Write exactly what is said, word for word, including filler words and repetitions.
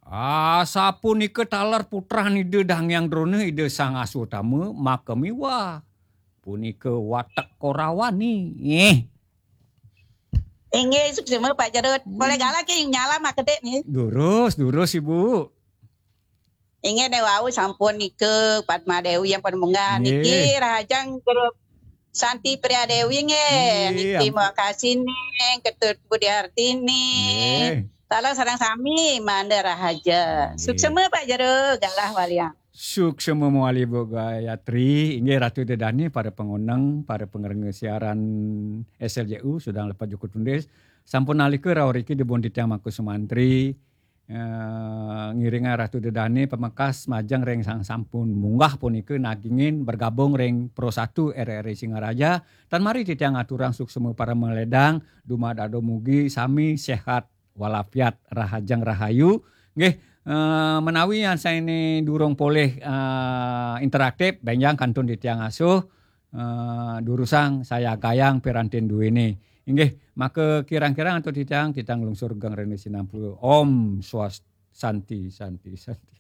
Asapunika taler putran Ida Dang Hyang Drona, Ida Sang Aswatama, maka miwah. Punika watek Korawan ni. Eh. Inggih, suksma Pak Jero. Boleh galah ke nyala mak kedek ni. Durus, durus Ibu. Inggih, ne wau sampun nika Padma Dewi yang pada munggah niki rahajeng grup Santi Pria Dewi nggih. Terima kasih nih Ketut Budi Hartini. Salam sareng sami manda rahaja. Suksma Pak Jero, galah waliang. Suksma mawali Bu Gayatri, inggih Ratu Dedani, para pengoneng, para pengerenga siaran S L J U, sedang lepas juku tundis. Sampun nalika rauh riki dibun titiang Mangku Sumantri, eh, ngiringa Ratu Dedani pamekas majeng ring sang sampun munggah punika nagingin bergabung ring Pro satu R R I Singaraja. Tan mari titiang aturang suksma para meledang, dumadak mugi sami sehat walafiat, rahajeng rahayu. Nggih, eh, menawi yang saya ini durung polih eh, interaktif, benjang kantun titiang asuh, eh, durusang saya gayang pirantin duwene. Inggih, maka kirang-kirang antuk titiang, titiang lungsur geng rene sinampu. Om Swastiastu, Santi, Santi, Santi.